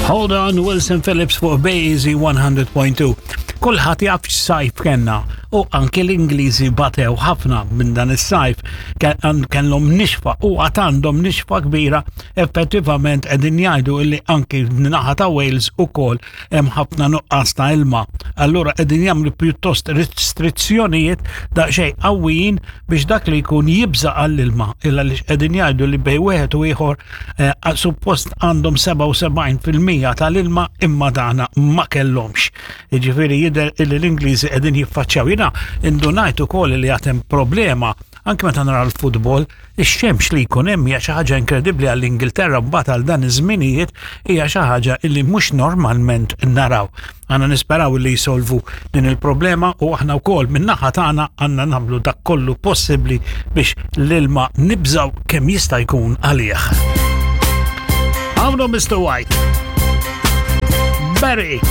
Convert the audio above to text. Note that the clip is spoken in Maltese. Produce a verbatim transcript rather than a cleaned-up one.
Hold on, Wilson Phillips fuq Bay Easy one hundred point two. Kulħadd jaf x'sajf kellna u anke l-Ingliżi batew ħafna minn dan is-sajf. Kellhom nixfa u għad għandhom nixfa kbira. Effettivament, qegħdin jgħidu illi anki naħa ta' Wales ukoll hemm ħafna nuqqas ta' ilma. Allura qegħdin jagħmlu pjuttost restrizzjonijiet daqsxejn qawwijin biex dak li jkun jibża għall-ilma, illa li qegħdin jgħidu li bejn wieħed u ieħor eh, suppost għandhom sebgħa u sebgħin fil-mija tal-ilma, imma dana ma kellhomx. Jiġifieri jidher illi l-Ingliżi qegħdin jiffaċċjaw. Jiena indunajt ukoll li għad hemm problema anke meta nara l-futbol, ix-xemx li jkun hemm hija xi ħaġa inkredibbli għall-Ingilterra mbagħad għal dan iż-żminijiet, hija xi ħaġa illi mhux normalment naraw. Għandna nisperaw li jisolvu din il-problema u aħna wkoll min-naħa tagħna għandna nagħmlu dak kollu possibbli biex l-ilma nibżaw kemm jista' jkun għalih. Għawnu Mister White. Barry.